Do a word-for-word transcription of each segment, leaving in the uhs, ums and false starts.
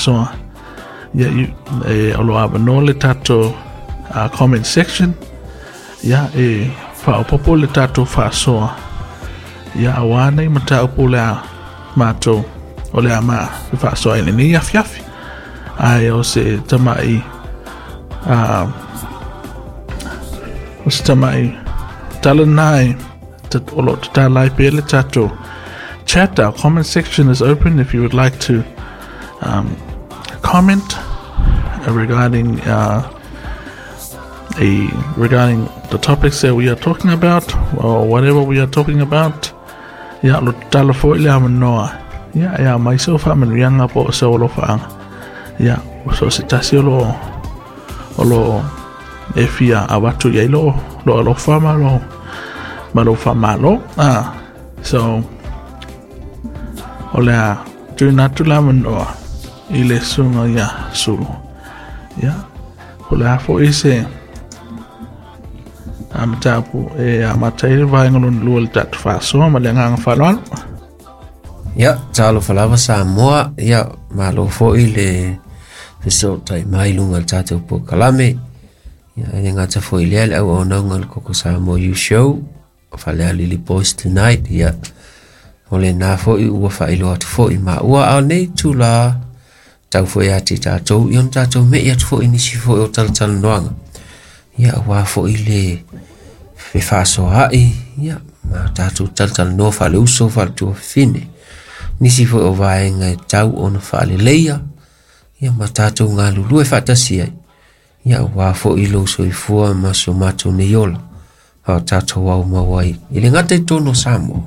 faasoa. Ia, e, o lo avanoa le tatou uh, comment section, ia, e faaopoopo le tatou faasoa, ia, auā nei mataupu o le a matou o le a ma faasoa i lenei afiafi. Ae o se tama'i uh, o se tama'i tala lena e o lo o tatala ai pea le tatou chat. Our comment section is open if you would like to um, comment regarding uh, a regarding the topics that we are talking about or whatever we are talking about. Ia, lo tatala foi le avanoa, ia, e aumai sau faamanuiaga po o sau alofaaga, ia, so se tasi o lo o lo e fia avatu i ai lo lo alofa ma lo ma lo faamalo. Ah, so o le a tuuina atu le avanoa i le susuga ia Sulu. Ia, o le a foi se a mataupu e amata ai le vaega lona lua o le tatou faasoa ma le agaga faaaloalo. Ia, talofa lava Samoa, ia, malo foi le fesootai mai luga o le tatou polokalame. Ia, e le gata foi i lea le auaunaga o le Koko Samoa Youth Show, Falealili Boys Tonight, ia, o lena foi ua faailoa atu foi maua. A o lenei itulā, tau foi ia te tatou, ia ona tatou me'i atu foi i nisi foi o talatalanoaga, ia, aua foi le fefaasoaai, ia, ma tatou talatalanoa faaleuso faaletuafafine. Nisi foi o vaega e tau ona faaleleia, ia, ma tatou galulue faatasi ai, ia, aua foi lou soifua ma so matou nei ola, a o tatou aumau ai i le gata i totonu o Samoa,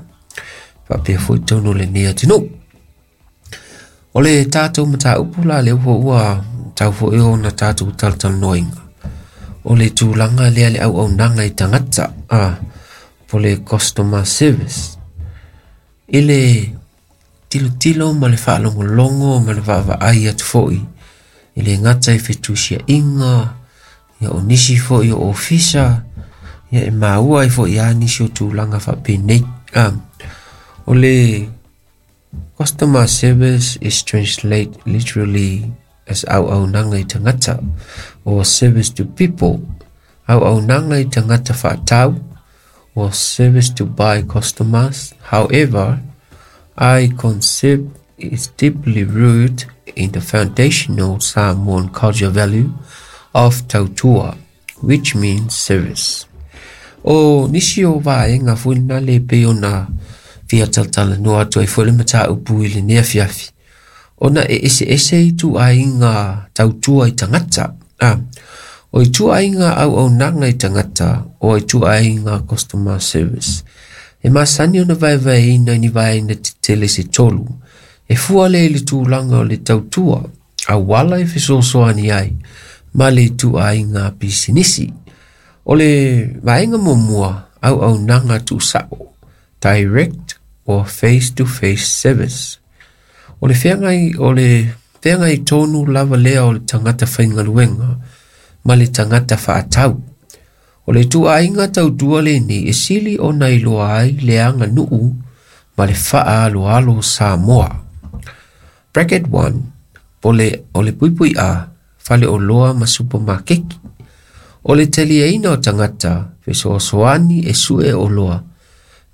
faapea foi totonu o lenei atunuu. O le tatou mataupu la lea foi ua tau foi ona tatou talatalanoaina, o le tulaga lea le auaunaga i tagata, a, po le customer service. I le tilotilo ma le faalogologo ma le vaavaai atu foi i le gata i fetusiaiga, ia, o nisi foi o ofisa, ia, e maua ai foi ia nisi o tulaga faapenei. A, o le customer service is translate literally as auaunaga i tagata or service to people, auaunaga i tagata faatau or service to buy customers. However, I concept is deeply rooted in the foundational Samoan culture value of tautua, which means service. O nisi o vaega foi lena le pei ona fia talatalanoa atu ai foi le mataupu i lenei afiafi, ona e eseese ituaiga tautua i tagata. A, o ituaiga auaunaga i tagata o ituaiga customer service. E masani ona vaevaeina i ni vaega tetele se tolu. E fua lea i le tulaga o le tautua, auala e fesoasoani ai, ma le ituaiga pisinisi. O le vaega muamua, auaunaga tuusao, direct or face-to-face service. O le feagai, o le feagai tonu lava lea o le tagata faigaluega ma le tagata faatau. O le ituaiga tautua lenei e sili ona iloa ai le aganuu ma le faaaloalo o Samoa. Bracket one, o le, o le puipui A, faleoloa ma supamakeki. O le taliaina o tagata fesoasoani e sue oloa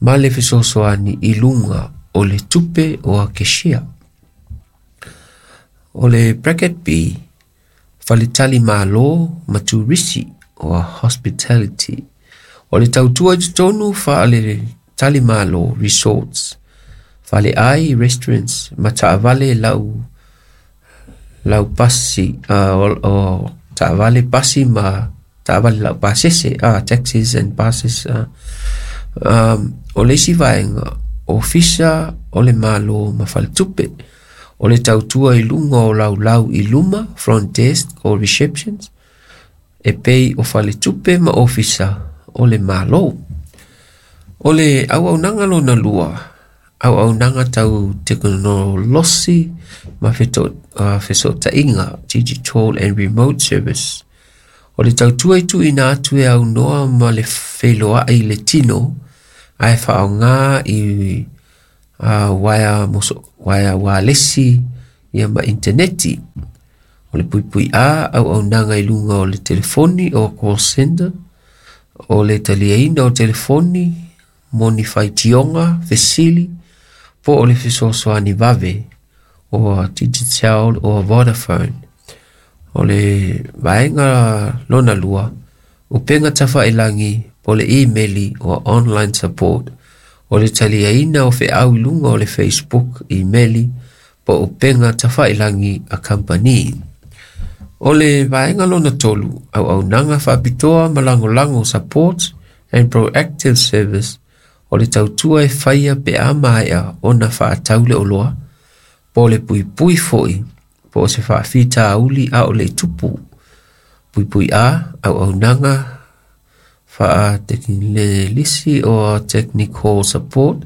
ma le fesoasoani i luga o le tupe o a keshia. O le bracket B, faletalimalo ma turisi o hospitality. O le tautua i totonu faletalimalo resorts, faleai restaurants ma taavale lau lau pasi uh, o, o taavale pasi ma taavale lau pasese, uh, taxis and buses. uh, um, o le isi vaega, ofisa o le malo ma faletupe. O le tautua i luga o laulau i luma, front desk or receptions, e pei o faletupe ma ofisa o le malo. O le auaunaga lona lua, auaunaga tau tekonolosi ma feto, uh, fesootaiga, digital and remote service. O le tautua i tuuina atu e aunoa ma le feiloai i le tino, ae faaaoga i uh, uaea, moso, uaea ualesi, ia, ma inteneti. O le puipui A, auaunaga i luga o le telefoni o call center, o le taliaina o telefoni, mo ni faitioga, fesili, po o le fesoasoani vave, o Digicel o Vodafone. O le vaega lona lua, upega tafailagi po le imeli o online support, o le taliaina o feau i luga o le Facebook, imeli, po upega tafailagi a kamupani. O le vaega lona tolu, auaunaga faapitoa ma lagolago support and proactive service, o le tautua e faia pe a maea ona faatau le oloa, po le puipui foi, po o se faafitauli a o le i tupu. Puipui A, auaunaga faatekinelisi o technical support,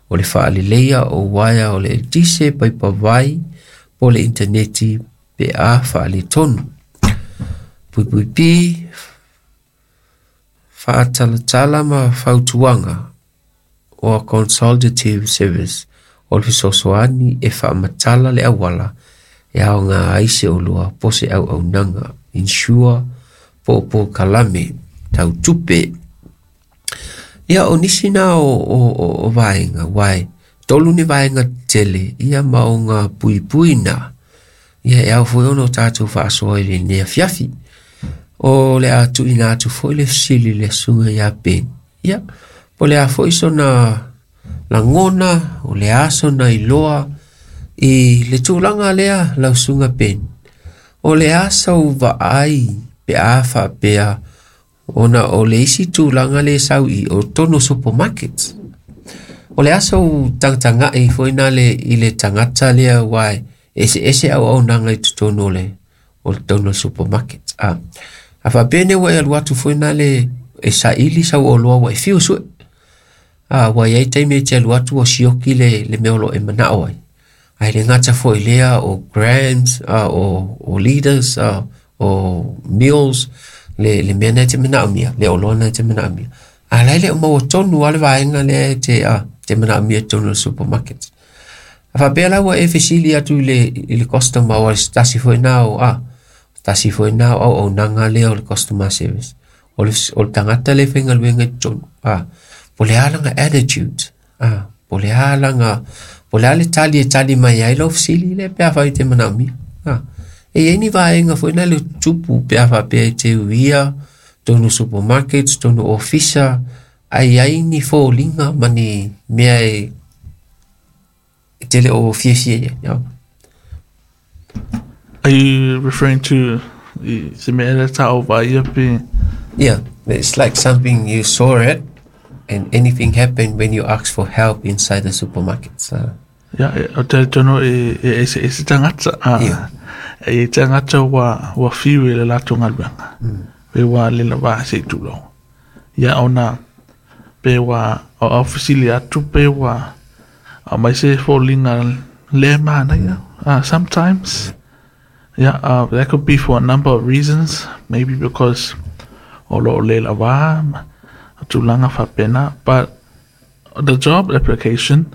o le faaleleia o uaea o le eletise, paipa vai, po le initaneti pe a faaletonu. Puipui B, faatalatala ma fautuaga o consultative service, o le fesoasoani e faamatala le auala e aoga ai se oloa po se auaunaga, insure po o polokalame tau tupe. Ia o nisi na o, o, o, o vaega, uae, tolu ni vaega tele, ia ma o ngā puipui na, ia e ao foi ona o tātou faasoa i lenei afiafi. O le a tuuina atu foi le fesili le susuga ia Ben. Ia, po le a foi sona lagona, o le a sona iloa i le tulaga lea lau susuga Ben. O le a sau vaai pe a faapea ona o le isi tulaga le sau i o totonu o supermarkets. O le a sau tagatagai foi na le i le tagata lea uae eseese auaunaga i totonu o le o le totonu o le supermarket. A, a faapea nei ua e alu atu foi na le e saili sau oloa ua e fiu sue. A, ua iai taimi e te alu atu ua sioki le, le mea o lo o e manao ai. Ae le gata foi lea o grams, a, o, o liters, a, o mils, le, le mea na e te manaomia, le oloa na e te manaomia. A la e le o maua tonu lava le vaega lea e te, a, te manaomia i totonu o le supermarket. A faapea la ua e fesili atu i le, i le customer o se tasi foi na o, a, tasi foi na o auaunaga lea o le customer service. O le, o le tagata le faigaluega i totonu, a, po o le a lana attitude, a, po o le a lana, po o le a le tali e tali mai ai lau fesili lea pe afai e te manaomia. A, e iai ni vaega foi na le tupu pe a faapea e te uia totonu supermarket, totonu ofisa, ae iai ni foliga ma ni mea e e te le o fiafia iai. Ia. Are you referring to i se mea lea ta o vaia pe? Yeah, it's like something you saw it and anything happen when you ask for help inside the supermarket. So, Ia, e, o te tonu e, e, e, se, e se tagata, a, Ia. e tagata ua, ua fiu i le latou galuega. Mm. Pe ua le lava se i tulou. Ia ona, pe ua o au fesili atu, pe ua au mai se foliga le manaia. Uh, sometimes, yeah, uh, that could be for a number of reasons. Maybe because o lo o le lava, ma tulaga faapena. But the job application,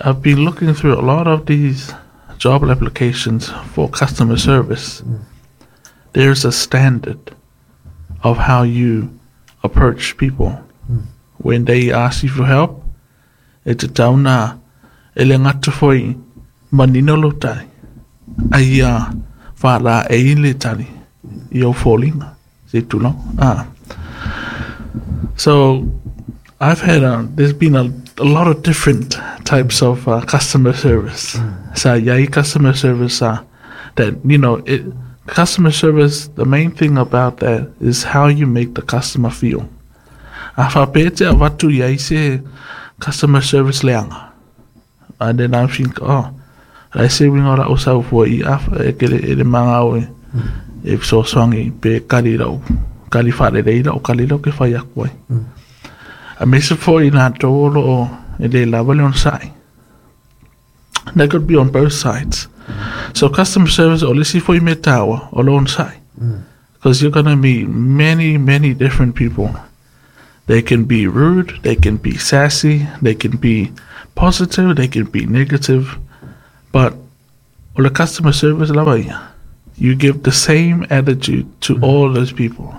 I've been looking through a lot of these job applications for customer service. There's a standard of how you approach people. When they ask you for help, e tatau na e le gata foi manino lou tali, a ia faalaei le tali i ou foliga, se i tulou. Ah. So I've had a, there's been a, a lot of different types of uh, customer service. Sa iai customer service uh, that, you know, it, customer service, the main thing about that is how you make the customer feel. A faapea e te avatu iai se customer service leaga. And then I think, oh, o le a se uiga o lau sau fua i a e ke le e le maga e e fesoasoani pe kali lau kali faalelei lau kali lau ke fai atu ai. Aemaise foi i latou o loo e le lava le onosai. That could be on both sides. So customer service o le isi foi mea taua o le onosai. Because you're gonna meet many, many different people. They can be rude, they can be sassy, they can be positive, they can be negative. But o le customer service lava ia. You give the same attitude to mm. all those people.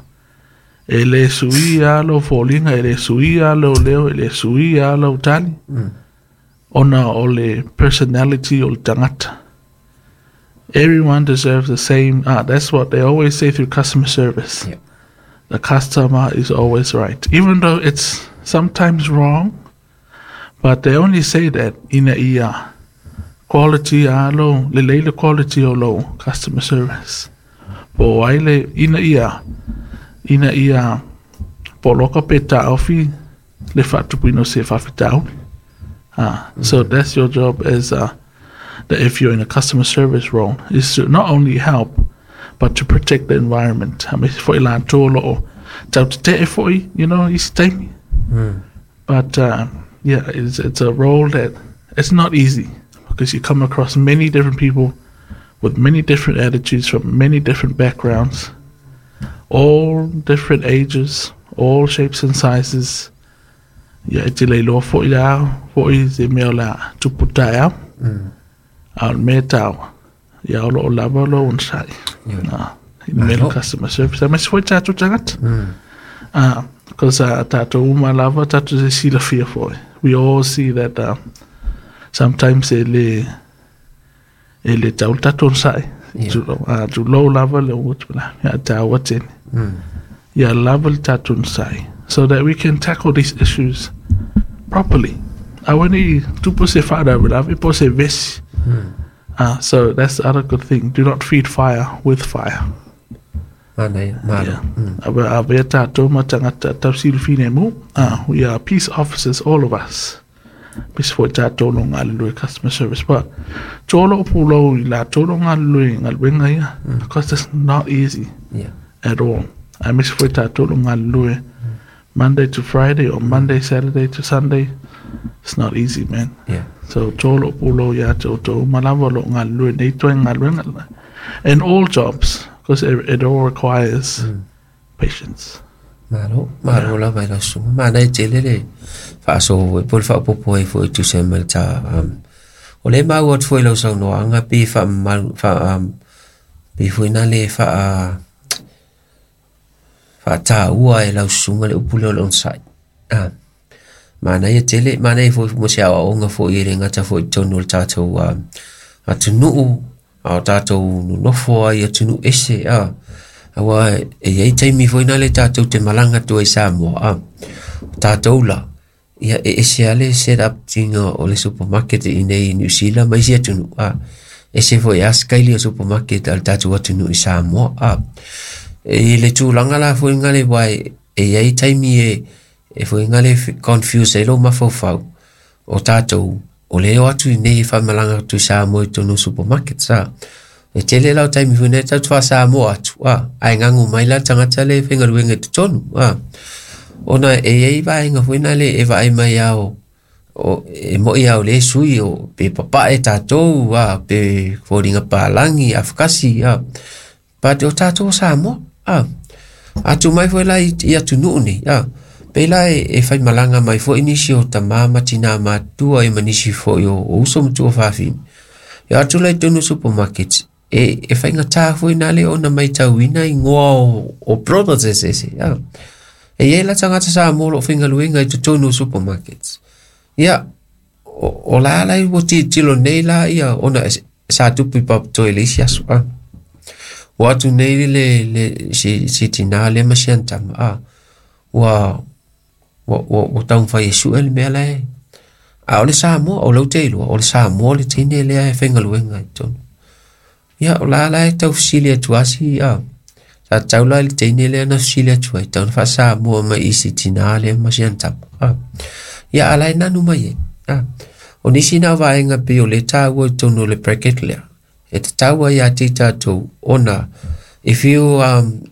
E le sui alo foliga, e le sui alo leo, e le sui alo tali. Mm. Ona o le personality o le tagata. Everyone deserves the same. Ah, that's what they always say through customer service. Yeah. The customer is always right. Even though it's sometimes wrong, but they only say that ina ia quality alo, le leile quality o lo customer service. Po ai le ina ia, ina ia poloka pe ta'ofi le fa'atupuina o se fa'afitauli. Ah, mm-hmm. So that's your job as a, that if you're in a customer service role, is to not only help, but to protect the environment. I mean, fo'i latou o lo'o tautete'e fo'i, you know, isi taimi. Mm. But uh, yeah, it's, it's a role that it's not easy because you come across many different people with many different attitudes from many different backgrounds, all different ages, all shapes and sizes. Ia e te leiloa fo'i le ao, fo'i se mea o le a tupu taeao, Mm. a o le mea taua. Ia o lo'o lava o lou onosai. Yeah. Ah, i le mea Malo. customer service. Aemaise foi tatou tagata. Mm. Ah, because uh, tatou uma lava, tatou se silafia foi. We all see that uh, sometimes e le e le tau le tatou onosai. Yeah. Tulou, ah, tulou lava le utu la. Ia taua tele. Mm. Ia lava le tatou onosai. So that we can tackle these issues properly. Aua nei tupu se faalavelave po o se vesi. Mm. Ah, so that's the other good thing. Do not feed fire with fire. Manaia, malo. Yeah. Mm. Ave avea tatou ma tagata tausilafilemu. Ah, we are peace officers, all of us. Aemaise foi tatou lo galulue customer service. But tolo o pulou i latou lo galulue galuega ia. Because it's not easy Yeah. at all. Aemaise foi tatou lo galulue Monday to Friday or Monday, Saturday to Sunday. It's not easy, man. Yeah. So tolo pulou ia te outou uma lava o lo'o galulue nei toe galuega. And all jobs, because it, it all requires Mm. patience. Malo, malo lava i lau susuga. Manaia tele le faasoa foi po o le faaopoopo ai foi e tusa ai ma le ta um, o lea maua atu foi i lau saunoaga pe faamamalu fa um, pe foi na le faa faataua e lau susuga le upu lea o le onosai. Ah. Manaia tele, manaia foi mo se aoaoga foi e le gata foi i totonu o le tatou um, atunuu, a o tatou nonofo ai atunuu ese a. Aua e iai taimi foi na le tatou te malaga atu ai Samoa a. O tatou la, ia e ese lava le set up tiga o le supermarket i nei i New Zealand ma isi atunuu a. Ese foi a sikaili o supermarket a le tatou atunuu i Samoa a. E le tulaga la foi gale uae e iai taimi e e foi gale confuse ai lou mafaufau o tatou o le o atu i nei e faamalaga atu i Samoa i totonu o supermarket sa. E tele la o taimi foi nei tatou te faasamoa atu a, ae gagu mai la le tagata le faigaluega i totonu a. Ona e iai vaega foi na le e vaai mai ao o e mo'i ao le sui o pe papae tatou a pe foliga palagi afakasi a. But o tatou o Samoa a. Atu mai foi la i, i atunuu nei a. Pe la e, e faimalaga mai foi nisi o tamā ma tinā matua e ma nisi foi o, o uso ma tuafafine. E atu la i totonu o supermarket e, e faigatā foi na le ona maitauina igoa o, o products eseese a. E iai la tagata Samoa o loo faigaluega i totonu o supermarkets. Ia, o, o la la ua tilotilo nei la ia ona e, sa tupu i Papatoe i le isi aso a. Ua atu nei le, le si, si tinā lea ma si ana tama a. Ua, ua, ua, ua taumafai e su'e le mea lae. A o le Samoa, o lau te iloa, o le Samoa le teine lea e faigaluega i totonu. Ia, o la la e tau fesili atu asi a. Sa tau la i le teine lea na fesili atu ai, tau na faasamoa mai i si tinā lea ma si ana tama a. Ia, a la e nanu mai ai a. O nisi na vaega pei o le taua i totonu o le bracket lea. E tatau ai ia te i tatou ona if you um,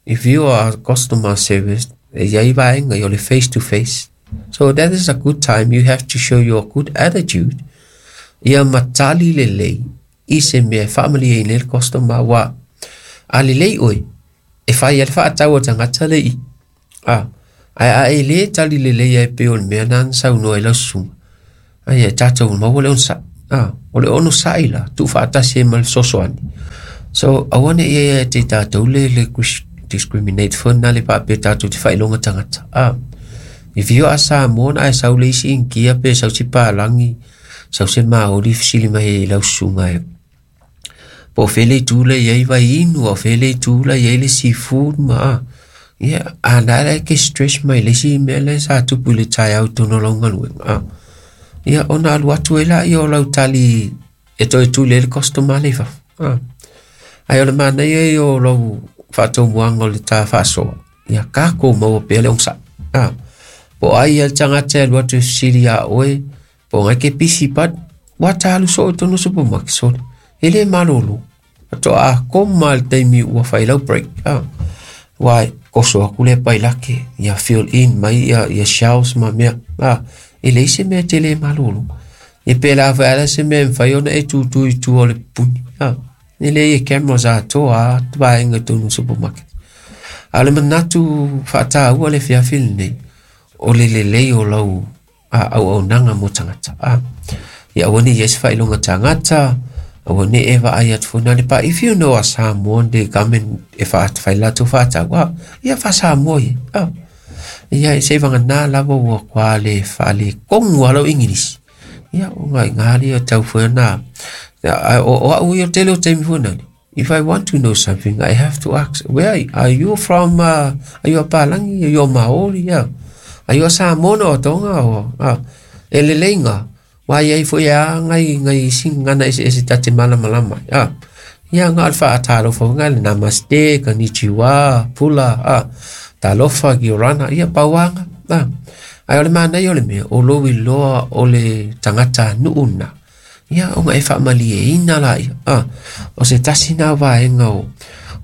if you are customer service, e iai vaega i o le face to face. So that is a good time. You have to show your good attitude. Ia matali lelei i se mea e faamalieina ai le customer ua a lelei oe e fai ai le faatau a tagata le i. A, ae a e lē tali lelei ai pei o le mea na na saunoa ai lau susuga. Ai e tatou maua le onosai. A, o le onosai la tuufaatasi ai ma le fesoasoani. So aua ne ia ia te tātou le le discriminate fo na le pa pe tātou te whailonga tangata. Ah. If you are Samoan, ai sau le isi inkia pe sau si palangi, sau se maori fisili mai i lau sunga e. Po fele tula iai vai inu, o fele tula iai le seafood ma. Ah. Yeah, a na le ke stress mai le si mea le sa tupu le tai au tono lau ngaluenga. Ah. Ia, ona alu atu e la ia o lau tali e toe tule le customer le fafo. Ah. Ai o le mana ia i o lau whaatomuanga o le tā whaasoa. Ia, ka kou maua pea le ongsa. Ah. Po ai ia tangata e alu atu e sili a oe, po ngai ke pisi pat, wa tālu so o tono supermarket sole. E le malolo. Ato a koma le taimi ua whai lau break. Ah. Wai, koso aku le pai lake, ia fill in mai ia, ia shelves ma mea. Ah, e le isi mea te le malolo. E pe la whae ala se mea mwhai ona e tūtū i tua o le puni. Ah, e le ia cameras a toa a tuaenga tonu supermarket. A le manatu whaatāua le fiafili nei, o le lelei o lau a au au nanga mo tangata. Ah, ia awani ia se whailonga tangata, awani e wa ai atu fona le pa, if you know a Samoan, they come and e wha whai latu whaatau, ah, ia wha Samoa ia. Ah, ia se wanga nā lava ua kwa le wha le kongu alo English. Ia o ngai ngā o tau fua nā. O o au ia tele o taimi fua nani. If I want to know something, I have to ask, where are you from? Uh, are you a Palangi? Are you a Maori? Yeah. Are you a Samoan o Tonga? O, ah, e le leinga. Wai ai fo ia ngai ngai singana ese ese tate malamalama. Ah. Ia ngā alfa a talofa ngai le namaste, konnichiwa, pula, ah, talofa, giorana, ia pauanga. Ah. Ai o le mana i o le mea, o lo loa o le tangata nuuna. Ia o ngai whaamali e ina la ia. Ah. O se tasi nā waenga o,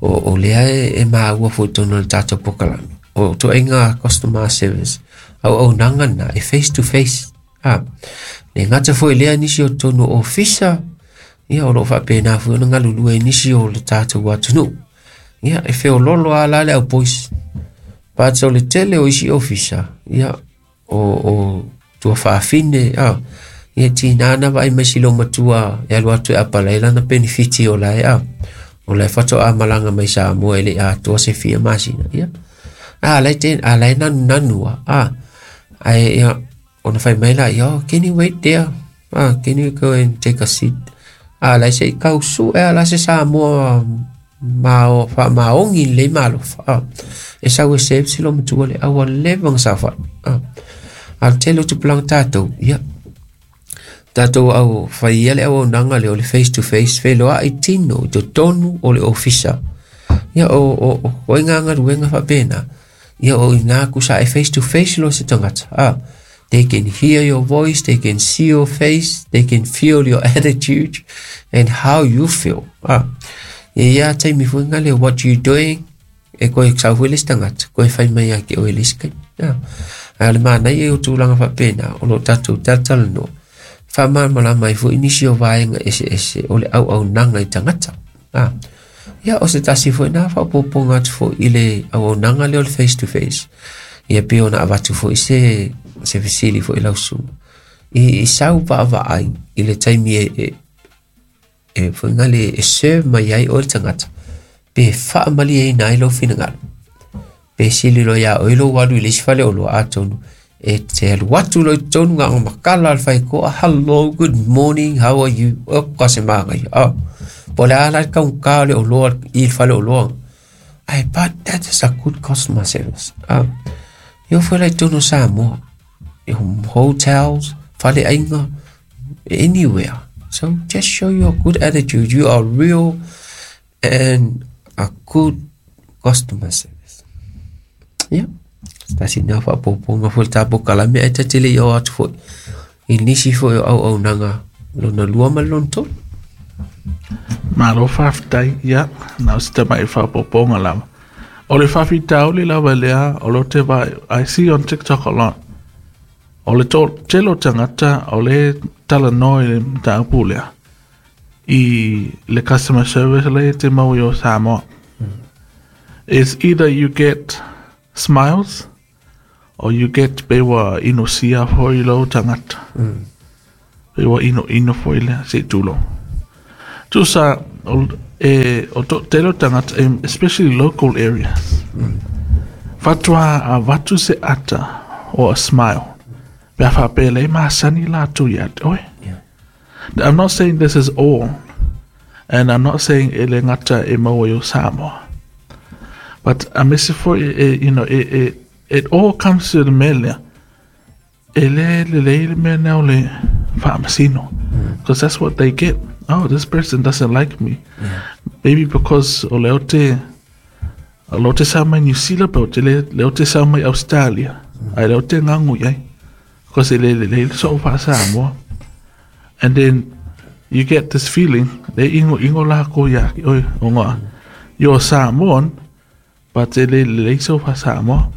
o, o lea e, e maua fo tono le tātou pokalami. O to inga customer service. Au au nangana e face to face. Ah. Le ngata fo lea nisi o tono ofisa. Ia o lo whapena fo na ngalulu e nisi o le tātou atunu. Ia e wheo lolo a la le au boys. Pats o le tele o isi ofisa. Ia o, o tua whaafine. Ah. Ia tinana vai mai silo matua e alu atu e apalai lana benefiti o lae a. O lae whato a malanga mai sa mua ele a tua se fia masina. Ia. A lai ten, a lai nanu nanua. A. Ai ia, ona whai mai la, ia, oh, can you wait there? Ah, can you go and take a seat? A lai se kau su e ala se Samoa ma o fa maongi le malofa. Ah. E sau e sep silo matua le awa levang sa fa. Ah. Al telo tu pelang tātou. Ia. Tātou au whai ia le au nanga le o le face to face wheloa i tino i to tonu o le ofisa. Ia o o o o inga ngaruenga whapena. Ia o ina kusa e face to face lo se tangata. Ah. They can hear your voice, they can see your face, they can feel your attitude and how you feel. Ah. Ia ia taimi fuinga le what you doing e koe sau hui le tangata, koe whai mai a ke oe le skai. Ah. A le mana ia o tūlanga whapena o lo tātou tātala no. Whamamala mai fo inisi o vaenga ese ese o le au au nanga i tangata. Ah. Ia o se tasi fo ina whapoponga atu fo i le au au nanga le o le face to face. Ia pe ona avatu fo i se se fisili fo i lau sunga. I, i sau va ai i le taimi e, e, e fo inga le e serve mai ai o le tangata. Pe whaamali e ina i lau finangalo. Pe sili lo ia o i lo walu i le isi fale o lo atonu. E te alu atu lo i tonu ngā makala al whai koa, hello, good morning, how are you? O ka se maanga ia. Ah. Po le ala kaunga le o loa i le fale o loa. Ai, but that is a good customer service. Ah. Io fo lai tonu Samoa. Hotels, fale ainga, anywhere. So just show your good attitude. You are real and a good customer service. Yeah. Tasi nā whapoponga fo le tāpo kalame ai tatele i o atu fo i nisi fo i au au nanga lona lua ma lona tolu. Malo whaftai, ia, nā o sita mai whapoponga lava. O le whawhitauli lava lea, o lo te vai, I see on TikTok a lot. O le tō, telo tangata, o le tala noa i le mtaupu lea. I le customer service le te mau i o Samoa. Mm. It's either you get smiles or you get pewa ino sia foi lo tangata. Mm. Pewa ino ino foi lea, se tulo. Tusa, o, E o to tele o tagata, especially local areas. Mm. Faatoa avatu se ata or a smile. Pe a faapea le masani latou ia te oe. Yeah. I'm not saying this is all, and I'm not saying e le gata e maua i o Samoa. But aemaise foi e, you know, it, it, it all comes to the mea lea. E le lelei le mea lea o le faamasino. Because that's what they get. Oh, this person doesn't like me. Yeah. Maybe because o le o te o le o te sau mai New Zealand pe o te le, le o te sau mai Australia. Ai le o te gagu i ai. Because e le lelei le soo faa-Samoa. And then you get this feeling, le igo igo lakou ia ki oe, ona you're Samoan, but e le lelei sou faa-Samoa.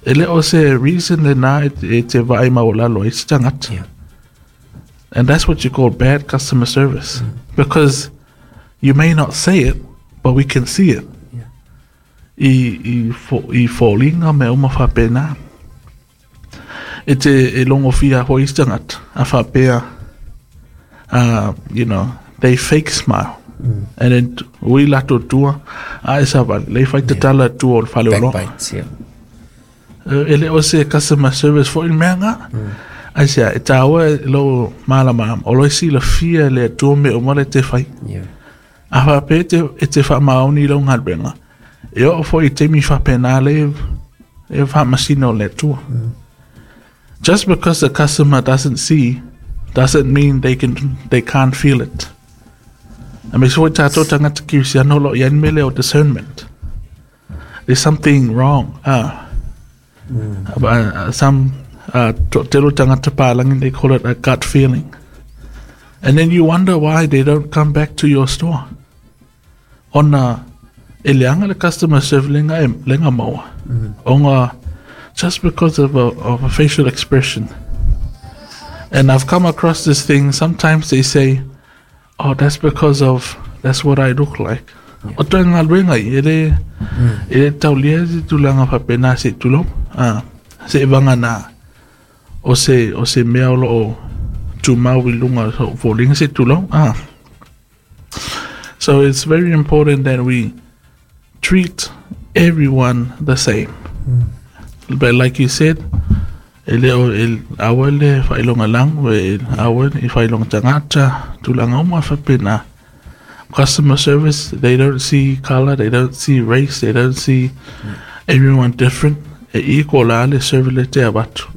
E le o se reason lenā e, e te vaai maualalo ai se tagata. Yeah. And that's what you call bad customer service. Because you may not say it, but we can see it. Yeah. I, i, fo, i foliga mea uma faapena. E te e logofia foi isi tagata, a faapea, uh, you know, they fake smile. Mm. And then ui latou tua, a e savali, le fai tatala tua o le fale o loa. Backbites, yeah. E le o se customer service foi le mea nga. Ai sea, e tāua e lo malama, o lo e silafia le Atua mea uma le te fai. Yeah. A faapea e te, e te faamaoni i lau galuega. E oo foi i taimi faapena le e faamasina o le Atua. Just because the customer doesn't see doesn't mean they can they can't feel it. Aemaise foi tatou tagata kerisiano o lo o i ai le mea lea o discernment. There's something wrong. Ah. Uh, some uh, toatele o tagata palagi they call it a gut feeling. And then you wonder why they don't come back to your store. Ona e leaga le customer service lega e lega maua. Ona just because of a, of a facial expression. And I've come across this thing, sometimes they say, oh, that's because of, that's what I look like. O toe galuega i, e le, e le taulia se tulaga faapena se i tulou. Ah, se i vagana o se, o se mea o loo tumau i luga o sou foliga se i tulou. Ah. So it's very important that we treat everyone the same. But like you said, e le o e aua le faailoga lagu, e aua i faailoga tagata, tulaga uma faapena. Customer service, they don't see color, they don't see race, they don't see everyone different. E equal la le serve le te avatu.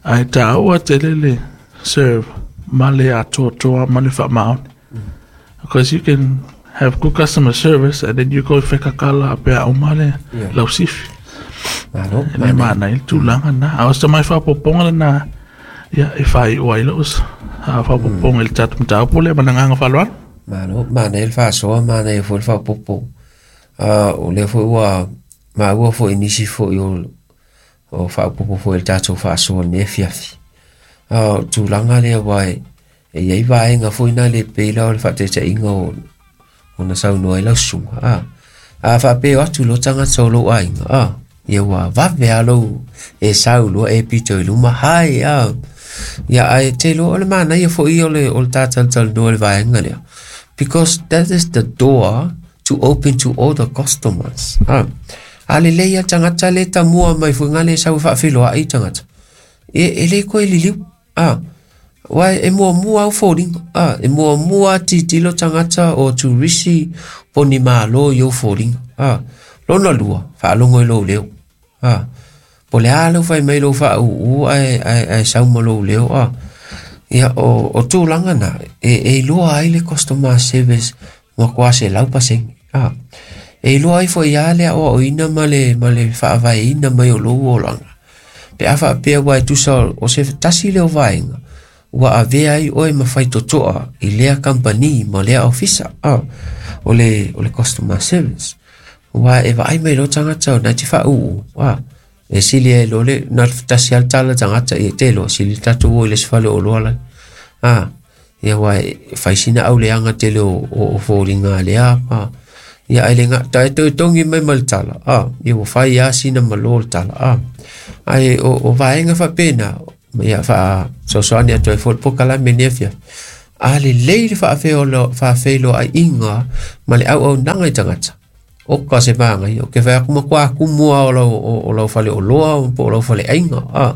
Ae tāua tele le serve ma le atoatoa ma le faamaoni. Because you can have good customer service and then you go fekakala pea uma le Yeah. lausifi. Malo, E le maana i le tulaga na. A o se tamai faaopoopoga lenā, ia, e faaiu ai lou a faaopoopoga i le tatou mataupu lea ma le agaga faaaloalo. Malo, manaia le faasoa, manaia foi le faaopoopo. Uh, o lea foi ua maua foi nisi foi o, o faaopoopo foi i le tatou faasoa i lenei afiafi. Uh, o tulaga lea ua e, e i ai vaega foi na le pei la o le faataitaiga o ona saunoa ai lau susuga. Ah, a faapea atu loa tagata o lou aiga. Ah, ia ua vave lava lou e sau loa e pito i luma hai ah. Ia ae te iloa o le manaia foi ia o le, o le tātalatalanoa i le vaega lea. Because that is the door to open to all the customers. Ah. A lelei a tagata le tamua mai foi ngā le sau e faafeiloai i tagata. E, e le koe liliu. Ah. Uae e muamua au foliga. Ah, e muamua tilotilo tagata o turisi po o ni malo i ou foliga. Ah. Lona lua, faalogo i lou leo. Ah. Po o le a lau fai mai lou faaūū ae, ae, ae sau ma lou leo. Ah. Ia, o, o tulaga na, e, e iloa ai le customer service matua selau pasene. Ah. E iloa ai foi lava le aoaoina ma le, ma le faavaeina mai o lou olaga. Pe a faapea ua e tusa o se tasi lea o vaega, ua avea ai oe ma faitotoa i lea kampani ma lea ofisa, ah, o le, o le customer service. Ua e vaai mai loa tagata o na te faaūū, ah, e sili ai loa le, na o le tasi lava le tala tagata ia te iloa, sili le tatou o i le isi fale oloa lai. Ah, ia ua e fai sina auleaga tele o, o, o foliga a lea, ah, ia ae le gata e toe togi mai ma le tala, ah, ia ua fai lava sina malo le tala, ah. Ae o, o vaega faapena, ia faasoasoani atu ai foi le polokalame i lenei afiafi. A lelei le faafeiloaiga ma le auaunaga i tagata. O ka se magai, o ke whai aku makua kumua o lau, o, o lau fale o loa, po o lau fale ainga. Ah,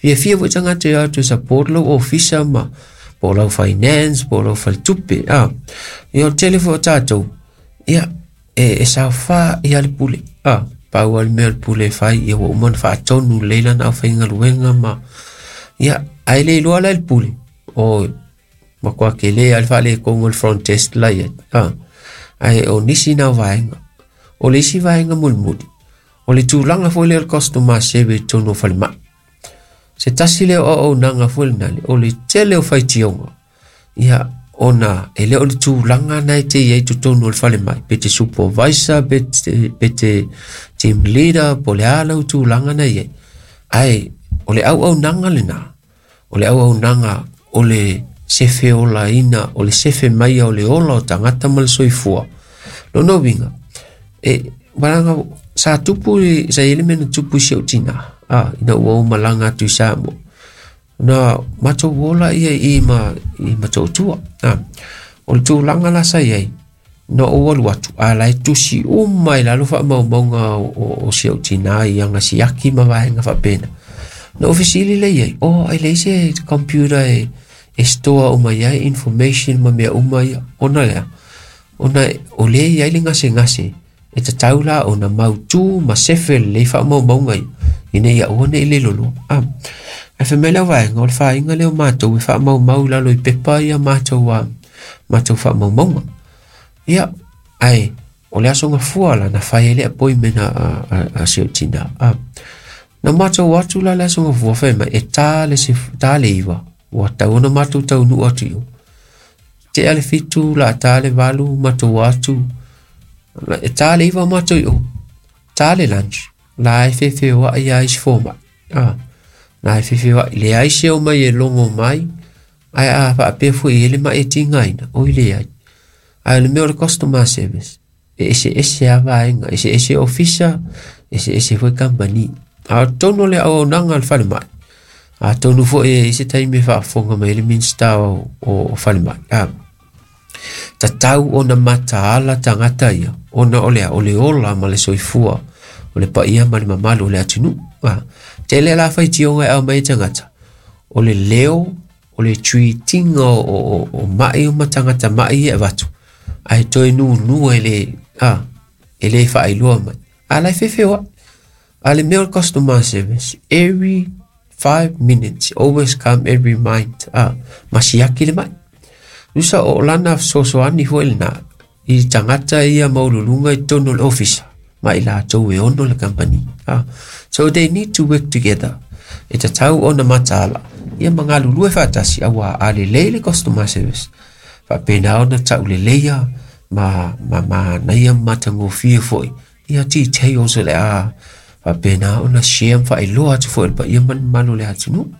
fia fia foi tagata ia tu support lau ofisa ma po o lau finance, po o lau fale tupe. Ah, ia o tele foi o tātou, ia, e, e saofā ia le pule. Ah, pau al mea le pule fai, ia ua uma na faatonu leila na au whaingaluenga ma, ia, ai le iloa la le pule. O, makua ke le al whale kongo le front desk la ia. Ah, ai o nisi na vaenga. O le isi vaenga mulimuli. O le tulaga foi lea o le customer service tonu o falemai. Se tasi lea o auaunaga foi lenale, o le tele o faitioga. Ia, ona e le o le tulaga na e te iai totonu o le falemai. Pe te supervisor, pe te, pe te team leader, po le a lau tulaga na iai. Ae, o le auaunaga lena. O le auaunaga o le sefe olaina, o le sefe maia o le ola o tagata ma le soifua. Lona uiga, e malaga sa tupu sa i le mea na tupu i si ou tina, ah, ina ua ou malaga atu i Samoa. Na matou ola ia i ma i Matautua. Ah, o le tulaga la sa iai, na ou alu atu, a la e tusi uma i lalo faamaumauga o, o, o si ou tina i aga siaki ma vaega faapena. Na ou fesili lea i ai, oh, e leai se computer e, e store uma i ai information ma mea uma ia, ona lea, ona o lea i ai le gasegase, e tatau la ona mautū ma sefe lelei faamaumauga ia, ina ia aua ne i le loloa. Ah, ae fai mai le auvaega, o le fāiga lea o matou e faamaumau i lalo i pepa ia matou, uh, matou faamaumauga. Ia, ae, o le aso gafua la na fai ai le appointment a, a, a, a si ou tina. Ah, na matou atu la le aso gafua fai mai, e tā le, se, tā le iwa, ua tau ona matou taunuu atu i o. Tea le fitu, la tā le valu, matou atu, e tā le iwa matou i o. Tā le lunch, la e fefe o ai a isi fomai. Ah, la e fefe o ai, leai se o mai e logo mai, ae a faapea foi e le mai e tigaina, oi leai. Ae o le mea o le customer service, e eseese a vaega, eseese ofisa, eseese foi company. A o totonu o le auaunaga o le falemai, atonu foi e i se taimi e faafofoga mai ai le Minista o, o, o falemai. Ah, tatau ona mataala tagata ia, ona o lea, o le ola ma le soifua, o le paia ma le mamalu o le atunuu. Ah, tele la faitioga e aumai e tagata, o le leo, o le treatiga o, o, o mai o ma tagata mai e avatu, ae toe nunua e le, ah, e le faailoa mai. A la e fefeoai. A le mea o le customer service, every five minutes, always come every mind. Ah, ma siaki le mai. Usa o lana fesoasoani foi lena, i tagata ia maululuga i totonu o le ofisa, ma i latou e ono le company. Ah, so they need to work together. E tatau ona mataala, ia ma galulue faatasi, auā a lelei le customer service. Faapena ona tauleleia ma, ma manaia ma matagofie foi. Ia details o le a faapena ona share ma faailoa atu foi i le paia ma le mamalu o le atunuu.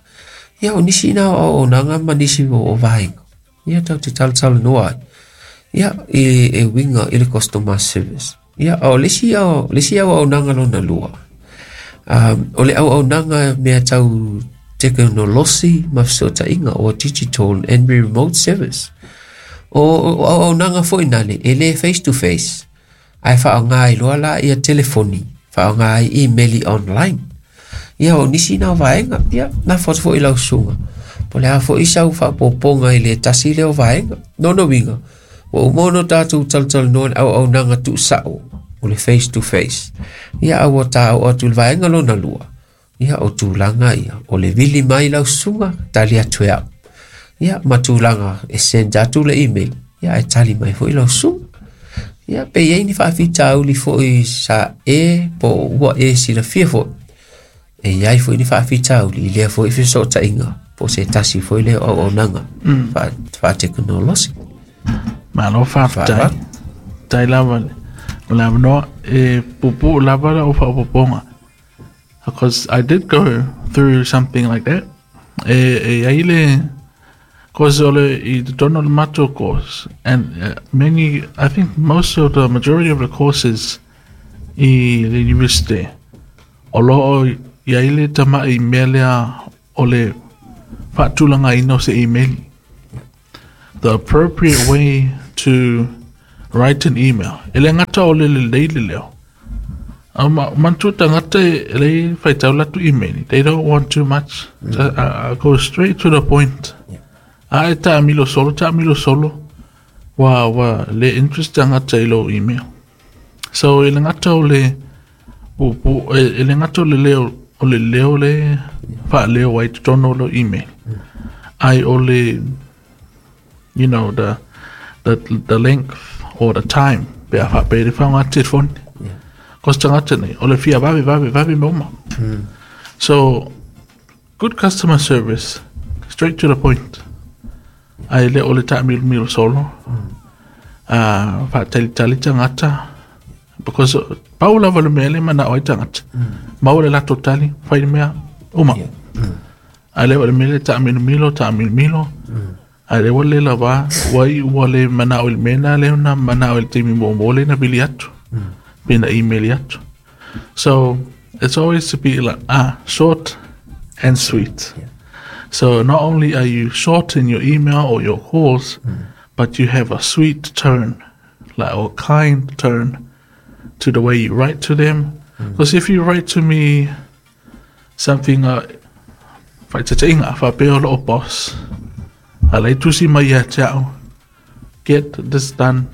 Ia o nisi na o auaunaga ma nisi o, o vaega. Ia tatou te talatalanoa ai. Ia e, e uiga i le customer service. Ia o le isi au, le isi auaunaga lona lua. Um, o le auaunaga mea tau tekonolosi ma fesootaiga o digital and remote service. O, o auaunaga foi nale, e le face to face. Ae faaaoga ai loa la ia telefoni, faaaoga ai email online. Ia o nisi na o vaega, ia na fotu foi lau susuga. Po o le a foi sau faaopoopoga i le tasi lea o vaega. Lona uiga, ua uma ona tatou talatalanoa i le auaunaga tuusao, o le face to face. Ia a ua taoo atu i le vaega lona lua. Ia o tulaga ia, o le vili mai lau susuga, tali atu e au. Ia ma tulaga e send atu le email, ia e tali mai foi lau susuga. Ia pe i ai ni faafitauli foi sa e po o ua e silafia foi. E iai foi ni faafitauli i lea foi fesootaiga po o se tasi foi lea o auaunaga mm. faatekonolosi. Malo faafetai. Faaaloalo. Tai lava le o le avanoa e puupuu lava lau faaopoopoga. Because I did go through something like that. E, e ai le cause o le i totonu o le matou course and uh, many I think most of the majority of the courses i le university o loo i ai le tamai mea lea o le faatulagaina o se email. the appropriate way to write an email. E le gata o le lelei le leo. A ma manatua tagata e le faitau latou email. They don't want too much. Mm. Just, uh, go straight to the point. Yeah. A e taamilo solo, taamilo solo. Ua, ua le interest tagata i lou email. So e le gata o le pu, pu, e, e le gata o le leo o le leo le faaleo ai totonu o lou email. Ae o le you know the the the length or the time pe a faapea le faaaoga telefoni. Yeah. Cause tagata nei o le fia vave vave vave mea uma. So good customer service, straight to the point. Ae le o le taamilomilo solo. Uh, faatalitali tagata because pau lava le mea le manao ai tagata. Maua le latou tali, fai le mea, uma. Yeah. Ae le o le mea le taamilomilo, taamilomilo. Ae le ua le lava, ua iu ua le manao i le mea lena lea na manao i le taimi muamua lea na vili atu. Pe na email atu. So it's always to be like, ah, short and sweet. Yeah. So not only are you short in your email or your calls, but you have a sweet tone, like or kind tone to the way you write to them. Because if you write to me something, uh, faataitaiga, faapea o loo boss, a le tusi mai ia te au, get this done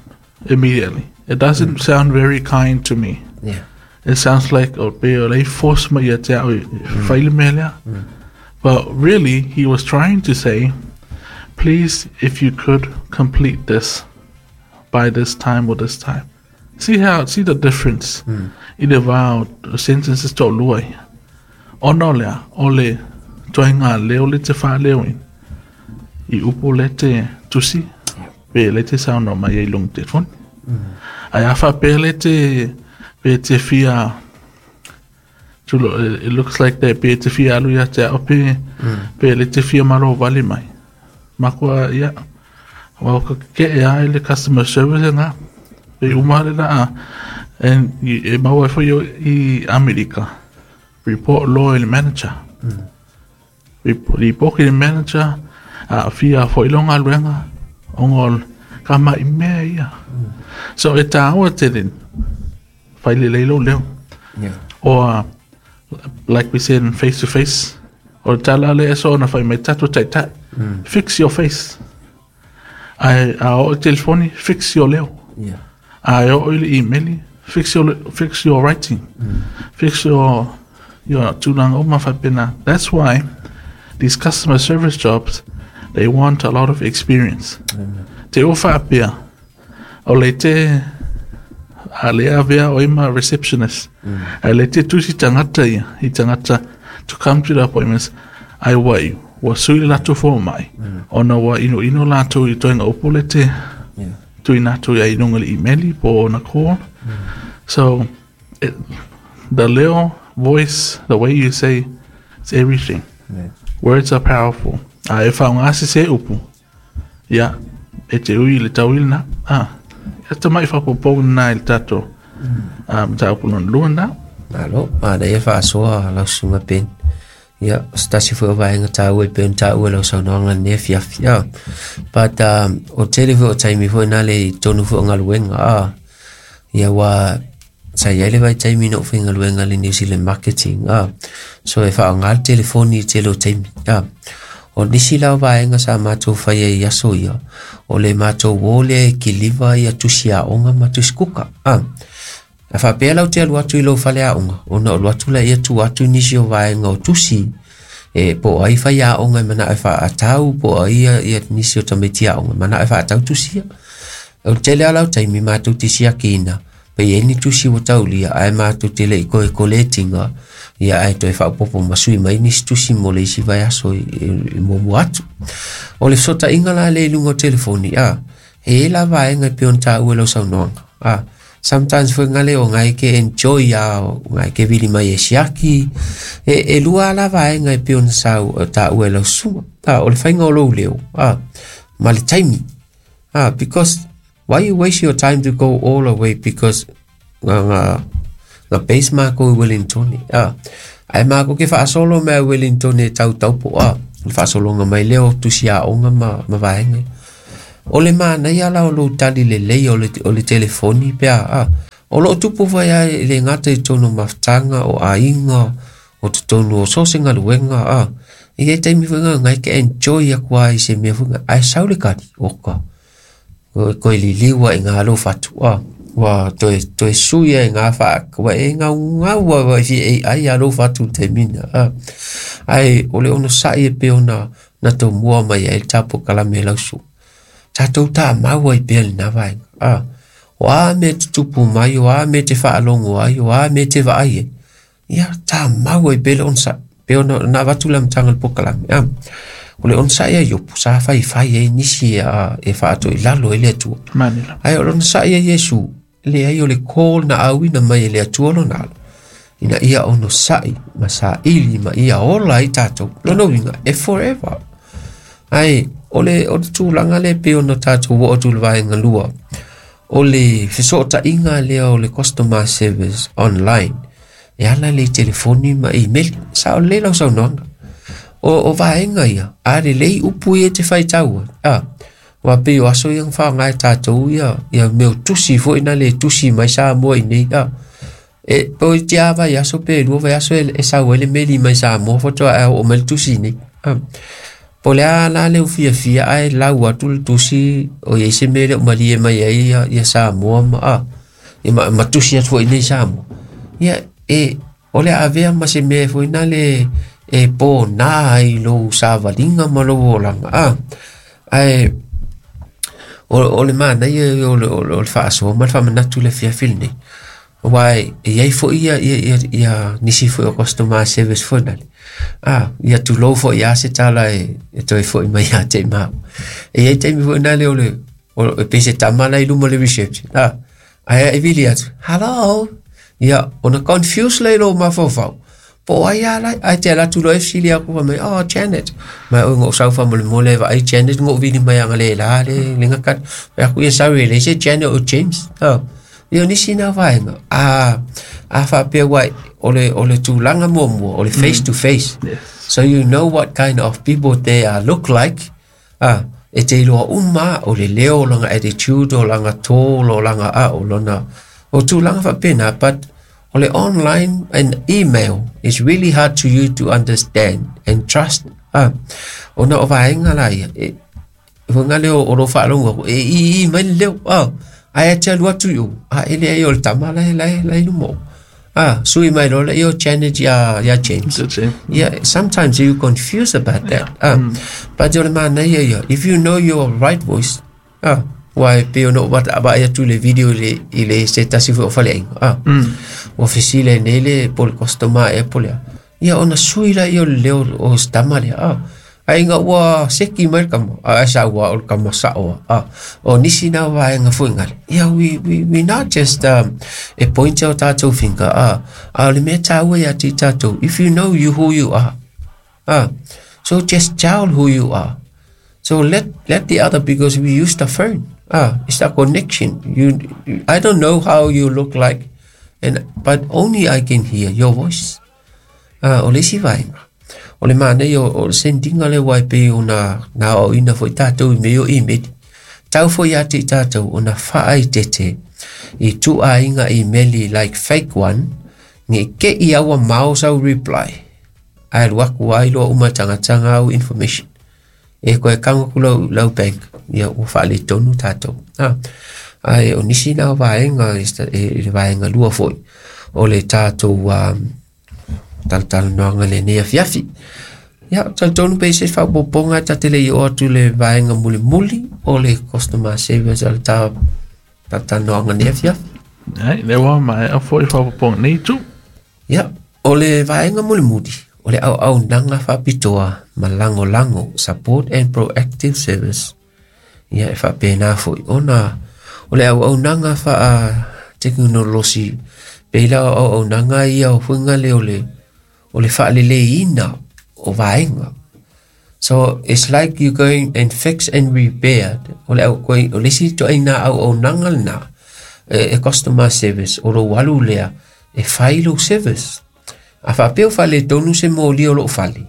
immediately. It doesn't sound very kind to me. Yeah. It sounds like o pe o le force mai ia te au e fai le mea lea. But really, he was trying to say, please, if you could complete this by this time or this time. See how, see the difference i le va o sentences toalua ia. Ona o lea, o le ituaiga leo le te faaleoina. I upu le te tusi, pe le te saunoa mai ai i luga telefoni. Ae a faapea le te, pe te fia, tulo, it looks like that pe te fia alu ia te ao pe, pe le te fia malo vale mai. Makua, ia, wa ka ke e ai le customer service nga, pe uma le la a, and i, e maua e foi i Amerika, report loa i le manager. Report, report i le manager, a fia foi lo galuega, ona o ka mai mea ia. So e tāua tele, fai lelei lou leo. Yeah. Or, like we said in face to face, o le tala le eso ona fai mai tatou taitai. Fix your face. Ae a oo i telefoni, fix your leo. Yeah. A e oo i le email, fix your, fix your writing. Fix your, your tulaga uma faapena. That's why these customer service jobs, they want a lot of experience. Te o faapea, o le te a le avea o ima receptionist. A le te tusi tagata ia, i tagata to come to the appointments, ai ua iu, ua sui le latou fomai. Ona ua inoino latou i ituaiga upu le te Yeah. tuuina atu ai i luga le email po o na call. So, it, the leo voice, the way you say, it's everything. Yeah. Words are powerful. A e faaaoga sesē upu. Ia, e te ui i le tauili na. Ah, e te mai faaopoopoga na i le tatou. Um, mataupu lona lua na. Malo, manaia faasoa lau susuga Ben. Ia, o se tasi foi o vaega taua i pei ona taua i lau saunoaga lenei afiafi. Ah. But um, o tele foi o taimi foi na le i tonu foi o galuega. Ah. Ia ua sa iai le vaitaimi na ou faigaluega le New Zealand Marketing. Ah. So e faaaoga le telefoni i tele o taimi. Ah. O nisi la o vaega sa matou faia i aso ia, o le matou o lea e kiliva ia tusi aoga ma tusi kuka. Ah. A faapea lau te alu atu i lou fale aoga, ona o alu atu laia tua atu nisi o vaega o tusi, e po o ai faiaoga e manao e faatau, po o ai ia, ia nisi o tamaiti aoga e manao e faatau tusi ia. O le tele lava lau taimi matou te siakiina, pe i ai ni tusi ua taulia, ae matou te le i toe koletiga, ia ae toe faaopoopo ma sui mai nisi tusi mo le isi vaiaso i, i, i muamua atu. O le fesootaiga la lea i luga o telefoni, a, e i ai la vaega e pei ona taua i lau saunoaga. A, sometimes foi ngale o ngai ke enjoy a o ngai ke vili mai e siaki. E, e lua la vaega e pei ona sau taua i lau susuga. A, o le faiga o lou leo, a, ma le taimi. A, because why you waste your time to go all the way because nga nga nga base mākou i Wellington. A, ae mākou ke faasolo mai Wellington e tau taupo a, le faasologa mai lea o tusi aoga ma, ma vaega. O le manaia la o lou tali lelei o le, o le telefoni pe a, a. O loo tupu fai ai le gata i totonu o mafutaga o aiga o totonu o so o se galuega a. E i ai taimi foi gagai e te enjoy atu ai i se mea foi ae sau le kali oka. Koe liliu ai ngā lou fatu a. Ua toe, toe sui ai ngā wha ua e ngau ngau a wai fi e ai a lou fatu le taimina a. Ae o le onosai e pei ona na tomua mai ai le tapua kalame lau susuga. Tatou tamau ai pea lena vaega a. O a mea e tutupu mai, o a mea e te faalogo ai, o a mea e te vaai ai. Ia tamau ai pea le onosai. Pei ona na avatu le amataga o le polokalame a. O le onosai a Iopu sa faifai ai nisi e, e faatoilalo ai le Atua. Manila. Ae o le onosai a Iesu, leai o le call na auina mai e le Atua lona alo. Ina ia onosai ma saili ma ia ola ai tatou. Lona uiga e forever. Ae o le, o le tulaga lea pei ona tatou oo atu i le vaega lua. O le fesootaiga lea o le customer service online. E ala le telefoni ma email. Sao lelei lau saunoaga. O, o vaega ia, a lelei upu ia e te faitau ai. A, ua pei o aso ia na faaaoga e tatou ia, ia mea o tusi foi na le tusi mai Samoa i nei. A, e po i tia vai aso pe lua vai aso e, e sau ai le meli mai Samoa faatoa ae oo mai le tusi nei. A, po o le a la le ufiafia ae lau atu le tusi o iai se mea e le o malie mai ai ia, ia Samoa ma a, ia ma, ma tusi atu foi nei Samoa. Ia e o le avea ma se mea foi na le e pōnā ai lou savaliga ma lou olaga a. Ae o, o le manaia o le, o le, o le faasoa ma le faamanatu i le afiafi lenei. Aua e iai foi ia, ia, ia, ia nisi foi o customer service foi nale. A, ia tulou foi a se tala e, e toe foi mai ia te i mau. E iai taimi foi nale o le, o, e pei se tama la i luma o le reception. A, ae e vili atu, hello. Ia, ona confuse lea i lou mafaufau. Po o ai a lai, ae te alu atu loa e fesili aku fai mai, oh, Janet. Mai oi ngou sau faamolemole e vaai Janet ngou vili mai aga le la le, le ngakata. Fai aku, ia sorry, e leai se Janet o James. Oh. Ia o nisi na vaega. A, a faapea ua o le, o le tulaga muamua, o le face to face. Yes. So you know what kind of people they are look like. Ah, e te iloa uma o le leo o lona attitude, o lona tall, o lona a, o lona, o tulaga faapena, but o le online and email is really hard to you to understand and trust. Ah, ona o vaega la ia, e, faiga lea o lou faalogo aku, e i i mai le leo, ah, ae te alu atu i o, a e leai o le tama la e, la e, la e luma o. Ah, sui mai loa lea o Janet ia, ia James. The James. Yeah, sometimes you confuse about that. Ah, but o le manaia ia, if you know your right voice, ah, ua e pei ona ou vaai atu i le video i le, i le se tasi foi o faleaiga. Ah, ua fesili ai nei le po o le customer ea po o le a. Ia ona sui laia o le leo o se tama lea. Ah, ae ina ua seki mai le kama, ae sau lava o le kama sao lava. Ah, o nisi na vaega foi gale. Ia, we, we, we not just um, e point o tatou finger. Ah, a o le mea taua ia te i tatou, if you know you who you are, ah, so just tell who you are. So let, let the other, because we use the phone. Ah, it's a connection. You, you, I don't know how you look like, and but only I can hear your voice. Ah, o le isi vaega. O le manaia o, o le sendinga lea ua e pei ona na aoaoina foi tatou i mea o email. Tau foi ia te i tatou ona faaeteete i tuuaiga email like fake one, nei te i ua mao sau reply. Ae alu atu ai loa uma tagataga au information. E koe kago atu lau, lau bank, ia ua faaletonu tatou. Ah, ae o nisi na vaega e, e, i le vaega lua foi o le tatou um, talatalanoaga lenei afiafi. Ia, talitonu pe i se faaopoopoga ta te le i oo atu i le vaega mulimuli o le customer service o le ta talatalanoaga nei afiafi. Ai, lea ua maea foi faaopoopoga nei itu. Ia, o le vaega mulimuli, o le auaunaga faapitoa ma lagolago, support and proactive service. Ia, e faapena foi ona o le auaunaga faatekonolosi, pei la o auaunaga ia o fuiga lea o le, o le faaleleiina o vaega. So it's like you going and fix and repair. O le au koi, o le isi ituaiga auaunaga lena e, e customer service o lou alu lea e fai lou service. A faapea o faaletonu se moli o loo fale,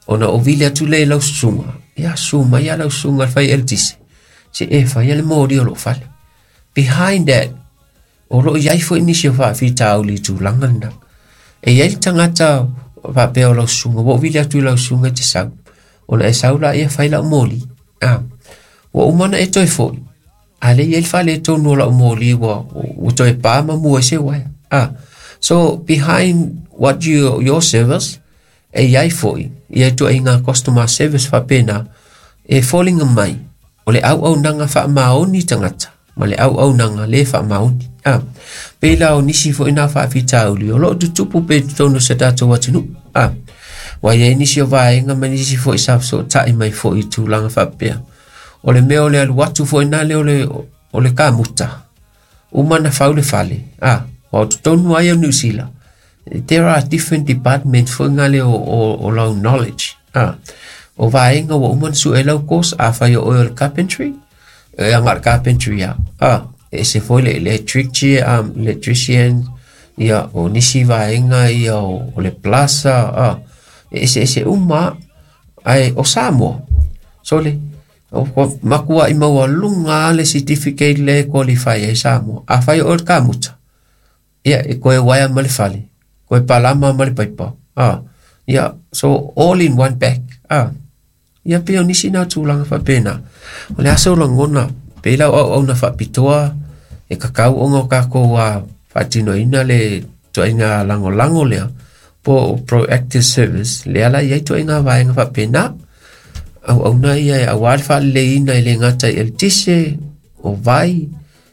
ona o vili atu lea i lau susuga, ia susu mai a lau susuga le fai eletise. Se e whai le mōri o lo whale. Behind that, o lo iai fo nisi o whaafitauli i tūlanga na. E iai le tangata whapea o lau sunga, wo vile atu i lau sunga te sau. Ona e sau la ia whai lau mōli. Ah, wa umana e toi foi. A le iai whale tonu o lau mōli wa, wa toi pā ma mua se wai. Ah, so behind what you, your service, e iai foi, ia tu ai ngā customer service whapena, e falling mai, o le au au nanga wha maoni tangata, ma le au au nanga le wha maoni. Ah, pēlā o nisi foi nā whaafitauli, o loo tutupu pe tonu se tātou atunu. Ah, wa iai nisi o vaenga ma nisi foi sa so tai mai foi i tūlanga whapea. O le mea o le alu atu foi nā le o le, o le kamuta. Umana whau le fale. Ah, wa o tonu ai o New Zealand. There are different departments foi ngā le o, o, o lau knowledge. Ah, o vaenga wa umana su e lau course a whai o oil carpentry. E anga carpentry ya. Ah, e se foi le electric, um, electrician, ia o nisi vaenga ia o, o le plaza, ah, e se se uma ai o Samoa. So le o makua i maua lunga le certificate le qualify ai Samoa. A whai o ka muta. Ia e koe waia ma le fale. Koe palama ma le paipa. Ah, ia so all in one bag. Ah, ia pe o nisi nā tūlanga whapena. O le asa o langona, pēlā o au na whapitoa, e kakau onga o kākou a whaatinoina le tuainga langolango lea, po proactive service, le ala iai tuainga vaenga whapena, au au na ia e awari whaleleina i le ngata i el tise, o vai,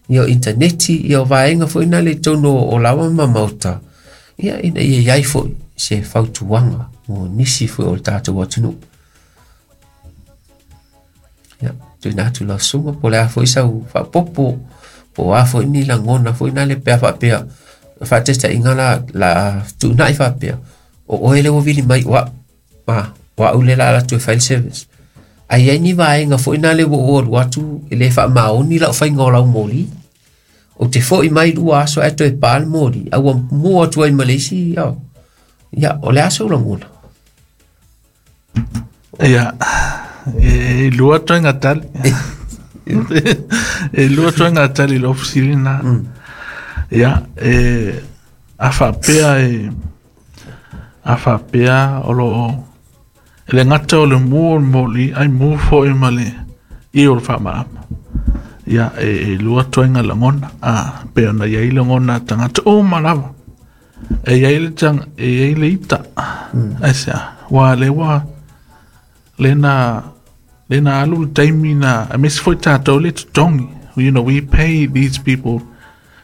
ia o interneti, ia o vaenga foi na le tono o lawa ma mauta. Ia ina ia iai foi se fautuanga mo nisi foi o le tātou atunu. Ia, tuina atu la sunga, po le a foi sau whapopo, po a foi ni langona foi na le pea whapea, whatesta inga la, la tunai whapea, o oe le wawili mai wa, ma, wa ule la la tu file service. Ai ai ni vaenga foi na le wo o atu, e le wha maoni la whainga o lau moli, o te foi mai lua aso e toe pāle moli, au mua atu ai Malaysia, ia, ia, o le aso langona. Ia, e lua toi ngā tali. E lua toi ngā tali le ofisiri nā. Ia, e a whapea e a whapea o lo e le ngata o le mua o le moli ai mua foi ma le i o le whamarama. Ia, e, e lua toi ngā langona. A, pe ona iai langona tangata o malawa. E iai le tang, e iai le ita. Ai sea, wa le wa le na le na alu taimi na a mesi foi tātou le tutongi. You know, we pay these people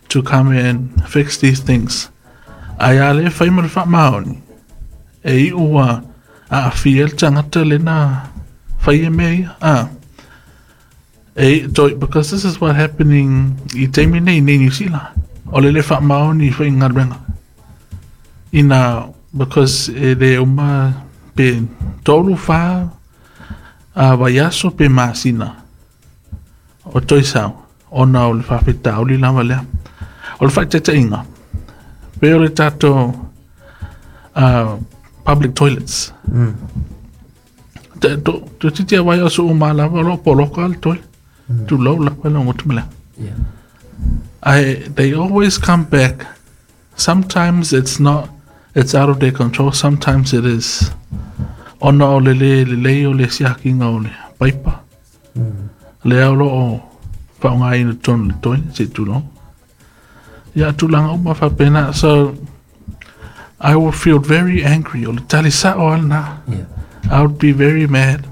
to come and fix these things. Ai a le whai ma le wha maoni. E i ua a awhi el tangata le na whai e mea. Ah. E toi, because this is what happening i taimi nei nei New Zealand. O le le wha maoni whai ngā renga. Ina, because e le uma pe tolu wha a vaiaso pe masina o toi sau ona o le whawhitauli lava lea. O le whaitetainga pe o le tātou uh, public toilets. Mm. Te to to titi a vaiaso o malava o lo poloka le toilet. Mm. Tu lau lapa le ngotumela. Yeah. I, they always come back. Sometimes it's not, it's out of their control. Sometimes it is. Ona o le le le le o le siakinga o le paipa. Mm. Le au lo o whaonga ina tonu le toilet, se tūlong. Ia tūlanga uma whapena. So, I would feel very angry. O le tali sa o al nā. Yeah. I would be very mad.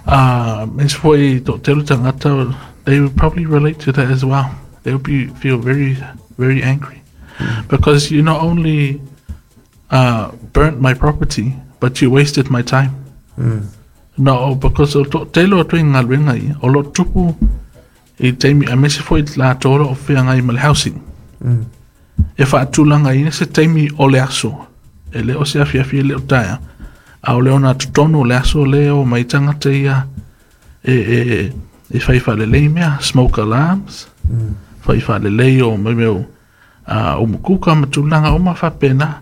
Uh, es foi to telu tangata, they would probably relate to that as well. They would be feel very, very angry. Mm. Because you not only uh, burnt my property, but you wasted my time. Mm. No, because o to telo atu i ngā renga i, o lo tupu i taimi, a mese foi la tōra o whia ngai ma le housing. Mm. E whaatulanga i se taimi o le aso, e le o se awhi awhi e le o taia, a o le ona tutonu o le aso le o mai tangata ia e, e, e whai whalelei mea, smoke alarms, Mm. whai whalelei o mai meo uh, o mukuka ma tūlanga o ma whapena,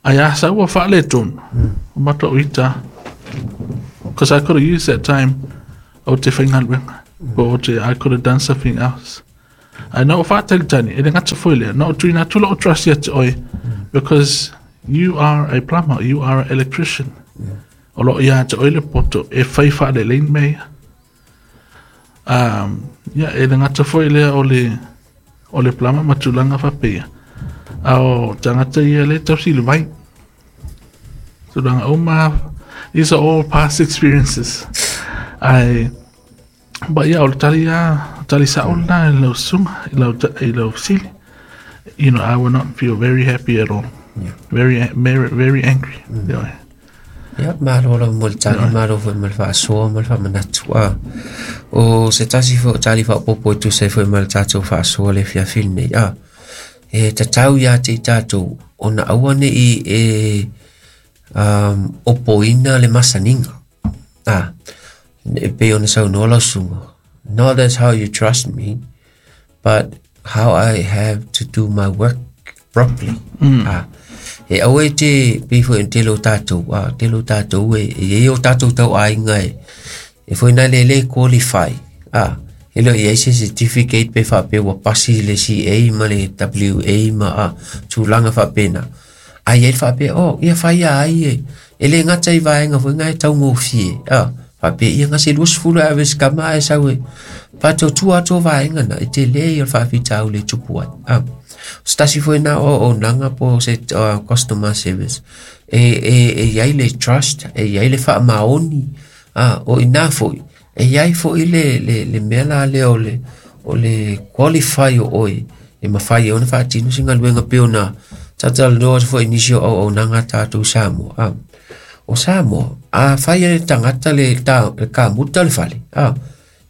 ai a sa ua whale tonu, Mm. o mata o ita, because I could have used that time o te whainga renga. Po o te, I could have done something else. Ae na ou faatalitali, e le gata foi lea, na ou tuuina atu lou trust ia te oe, because you are a plumber, you are an electrician. O loo ia te oe le poto e fai faalelei mea ia. Um, ia, e le gata foi lea o le, o le plumber ma tulaga faapea. A o tagata ia le tausi le vai. Tulaga uma, these are all past experiences. Ae, but yeah, o le tali a, tali sa'o lena i lau susuga, i lau, i lau fesili. You know, I will not feel very happy at all. Yeah. Very, very, very angry. Mm. Yeah. Ia, malo lava mo le tali, malo foi ma le faasoa ma le faamanatu. A o se tasi foi o tali faaopoopo e tusa ai foi ma le tatou faasoa le afiafi lenei. A e tatau iā te i tatou ona aua neʻi e um, opoina le masaniga. A e pei ona saunoa lau susuga. Not that's how you trust me, but how I have to do my work properly. Mm. A e aua e te pei foi ona tele o tatou, a tele o tatou e e iai o tatou tauaiga e e foi na le le qualify. A e le o iai se certificate pe faapea ua pasi le C A ma le W A ma a tulaga faapena. A iai le faapea, oh, ia fai ia ai e e le gata i vaega foi na e taugofie. A faapea ia gase luasefulu e ave se kama ae sau e faatuatua atu o vaega na e tele ia o le faafitauli e tupu ai. A se tasi foi na auaunaga po o se uh, customer service e, e, e iai le trust, e iai le faamaoni, a o ina foi e iai foi le, le, le mea la lea o le, o le qualify o oe e mafai ai ona faatino se galuega pei ona tatalanoa atu foi i nisi o auaunaga a tatou Samoa. A o Samoa, a fai e le tagata le, ta, le kamuta le fale, a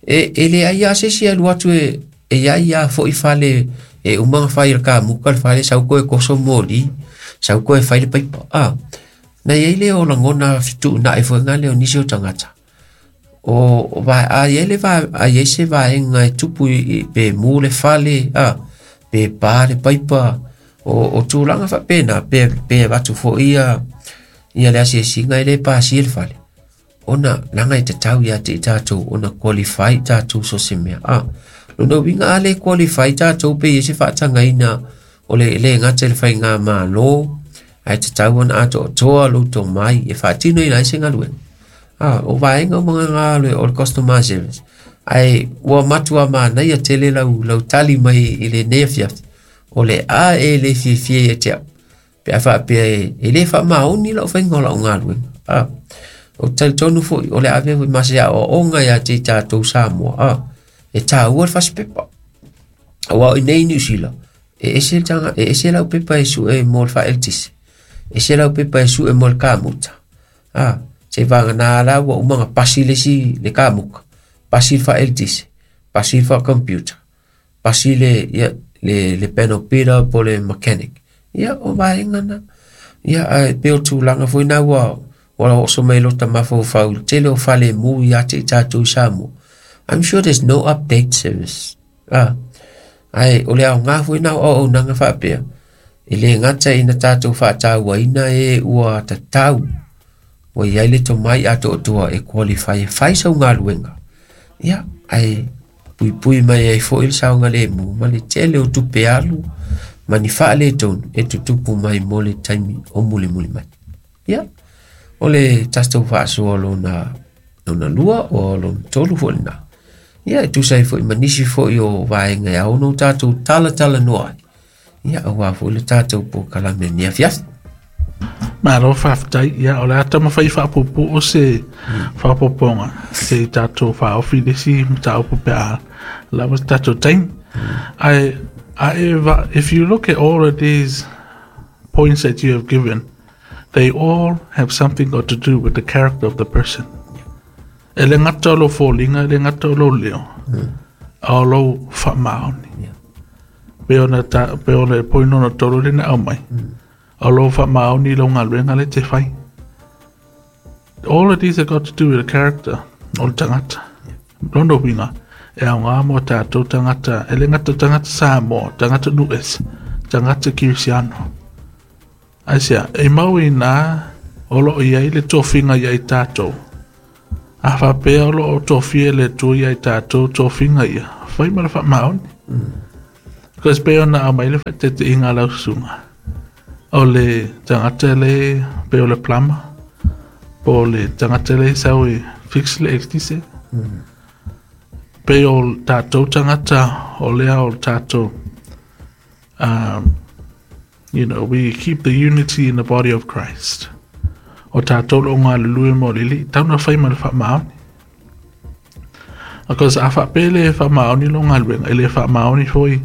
e, e leai lava se isi e alu atu e, e iai lava foi fale e uma ona fai e le kamuka le fale, sau koe koso moli, sau koe fai le paipa. A na iai lea o lagona fetuunai foi ga lea o nisi o tagata. O, o va, a iai le va, a iai se vaega e tupu i, i, pe mu le fale, a pe pa le paipa, o, o tulaga faapena, pe, pe avatu foi ia, ia le asiasiga e le pasia le fale. Ona laga e tatau ia te i tatou ona qualify tatou so se mea. A lona uiga a le qualify tatou pe ia se faatagaina o le le gata i le faigamālō, ae tatau ona atoatoa lou tomai e faatinoina ai se galuega. A o vaega uma ga o le customer service. Ae ua matua manaia tele lau, lau tali mai i lenei afiafi. O le a e le fiafia ia te au. Pe a faapea e, e le faamaoni lau faiga o lau galuega. A o talitonu foi o le avea foi ma se aoaoga ia te i tatou Samoa. A e taua le fasipepa. Auā o i nei Niu Sila, e ese le taga, e ese lau pepa e sue mo le faaeletise. Ese lau pepa e sue mo le kamuta. A se vagana la ua uma ona pasi le isi le kamuka, pasi le faaeletise, pasi le faacomputer, pasi le, ia, le, le panel beater po le mechanic. Ia, o vaega na. Ia, ae pei o tulaga foi na ua, ua oso mai lota mafaufau i le tele o falemu ia te i tatou i Samoa. I'm sure there's no update service. Ah, ae o le aoga foi na o auaunaga faapea, e le gata ina tatou faatauaina e ua tatau, ua iai le tomai atoatoa e qualify e fai sau galuega. Ia, ae puipui mai ai foi le saogalemu ma le tele o tupe alu ma ni faaletonu e tutupu mai mo le taimi o mulimuli mai. Ia, o le tatou faasoa lona, lona lua o lona tolu foi lena. Ia, e tusa ai foi ma nisi foi o vaega e ao ona o tatou talatalanoa ai. Ia, auā foi le tatou polokalame lenei afiafi. Malo faafetai. Ia, o le a taumafai faapuupuu se faaopoopoga se i tatou faaofi i le isi mataupu pe a lava se tatou taimi. Ae, ae va, if you look at all of these points that you have given, they all have something got to do with the character of the person. E le gata o lou foliga, e le gata o lou leo, a o lou faamaoni. Pei ona ta, pei ona e point lona tolu lea na aumai, o lou faamaoni i lau galuega lea e te fai. All of these have got to do with the character o le tagata. Lona uiga, e aoga mo tatou tagata, e le gata o tagata Samoa, tagata Nu'uese, tagata Kirisiano. Aisea, e mau inā o loo iai le tofiga ia i tatou. A faapea o loo tofia le Atua ia i tatou tofiga ia, fai ma le faamaoni. Because pei ona aumai le faateteiga a lau susuga, o le tagata le pe o le plumber, po o le tagata le sau e fix le eletise. Pei o tatou tagata o lea o tatou um, you know, we keep the unity in the body of Christ. O tatou lo galulue mo le Alii, tau na fai ma le faamaoni. Because a faapea le faamaoni lo galuega, e le faamaoni foi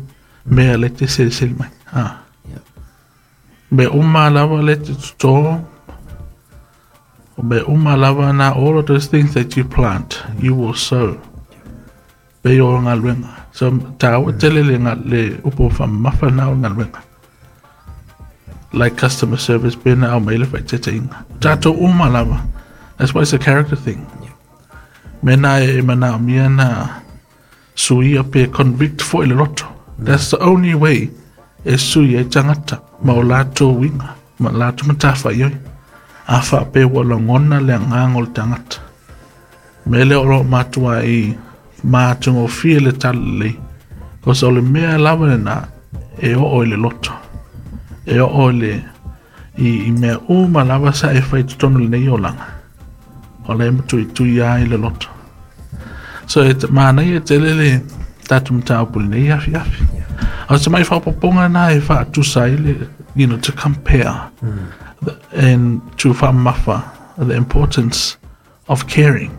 mea le te selesele mai. Ah. Yeah. Me uma lava le te toto, o me uma lava na all of those things that you plant, you will sow. Pe o galuega. So tāua tele le, nga- le upu whaamafa na o galuega. Like customer service pe na au mai le whaiteteinga. Tātou uma lava. That's why it's a character thing. Yeah. Mena e mana mia na suia pe convict fo i le loto. That's the only way e sui e tangata ma o latou winga, ma latou matafa ioi. A wha pe ua lagona le agaga o le tagata. Me le o lo matua i mātagofie le talalelei. Cause o le mea lava lena e oo i le loto. E oo i le i, i mea uma lava sa e fai totonu lenei olaga. O le matuitui ai le loto. So e manaia e tele le tatou mataupu lenei afiafi. O se mai whapoponga na e whaatusa i le, you know, to compare the, and to whaamafa the importance of caring.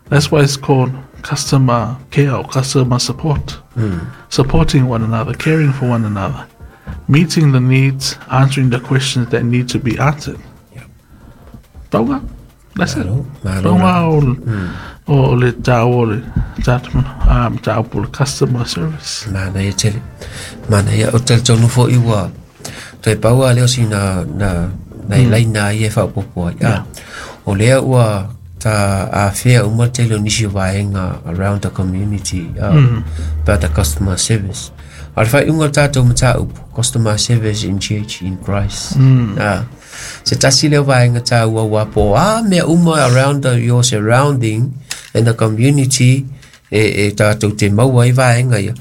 That's why it's called customer care or customer support. Supporting one another, caring for one another, meeting the needs, answering the questions that need to be answered. Yeah. Tonga. That's it. Malo, malo Tonga o, o le tāua o le tātou um, tāupu le customer service. Manaia tele. Manaia o talitonu foi ua toe pau a lea o sina na na mm. laina ai e faaopoopo ai. Ah, o lea ua ta afea uma tele o nisi o vaega around the community uh, mm. about the customer service. A le faaiuga o le tatou mataupu, customer service in church in Christ. Mm. Ah, se tasi lea o vaega taua ua po a mea uma around the, your surrounding and the community e, e tatou te maua ai vaega ia.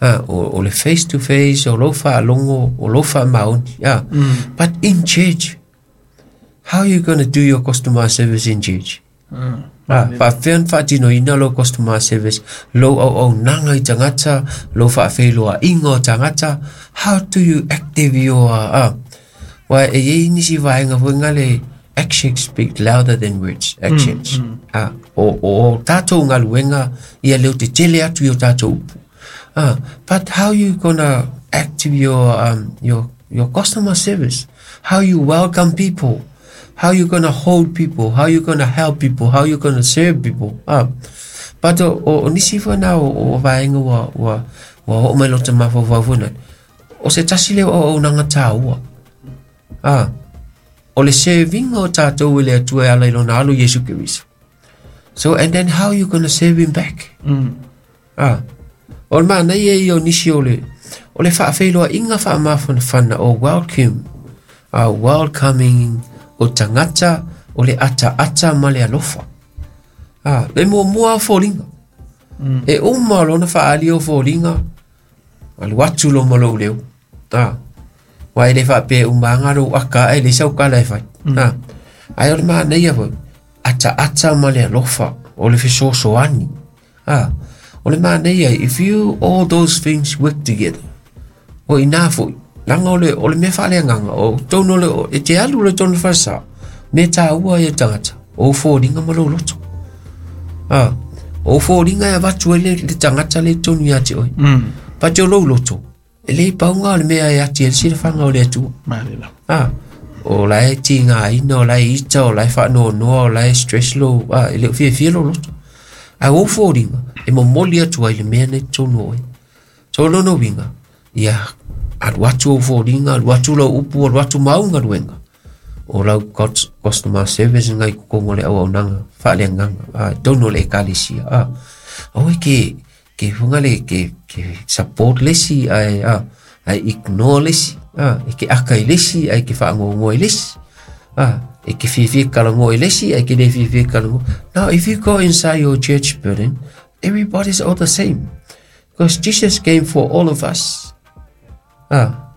Ah, o, o le face to face, o lou faalogo, o lou faamaoni. Ah. Mm. But in church, how are you going to do your customer service in church? Mm. Ah, faafea ona faatinoina lou customer service, lou auaunaga i tagata, lou faafeiloaiga o tagata, how do you active your ah, wa e iai nisi vaega foi le actions speak louder than words, actions. Mm, mm. Ah, o, o, o tatou galuega ia leo te tele atu i o tatou upu. Ah, but how you gonna active your um, your your customer service? How you welcome people? How you gonna hold people? How you gonna help people? How you gonna serve people? Ah, but o, o, o nisi foi na o, o vaega ua ua ua oo mai lota mafaufau foi na. O se tasi lea o auaunaga tāua. Ah, o le serving o tatou i le Atua e ala i lona alo Iesu Keriso. So and then how you gonna serve him back? Mm. Ah, o le manaia ia o nisi o le o le faafeiloaiga faamafanafana o welcome, uh, welcoming o tagata o le ataata ma le alofa. Ah, le muamua o foliga. Mm. E uma lona faaali o foliga, alu atu lo ma lou leo. Ah, wa e le faapea umaga lou aka ae le sau kala e fai. Mm. Ah, ai o le manaia foi, ataata ma le alofa o le fesoasoani. Ah, o le manaia, if you all those things work together, o ina foi, laga o le, o le mea faaleagaga, o tonu o le, o, e te alu le tonu falesa, mea tāua ia tagata, o foliga ma lou loto. Ah, o foliga e avatu ai le, le tagata le tonu ia te oe. Mm. Pate o lou loto, e le pauga o le mea e ati e le silafaga o le Atua. Malila. Ah, o la e tigaina, o la e ita, o la e faanoanoa, o la e stress lou, ah, e le o fiafia lou loto. Ae o foliga, e momoli atu ai le mea nei tonu o oe. So lona uiga, ia alu atu ou foliga, alu atu lau upu, alu atu ma au galuega. O lau customer service ngai totonu o le auaunaga faaleagaga, ah, tonu o le ekalesia. Ah, aua ke ke funga le ke ke support le isi ae ah, ae ignore le isi, ah, e ke aka i le isi, ae ke faagoagoa i le isi. Ah, E ke fiafia kalagoa i le isi ae ke lē fiafia kalagoa. Now if you go inside your church building, everybody's all the same because Jesus came for all of us. Ah.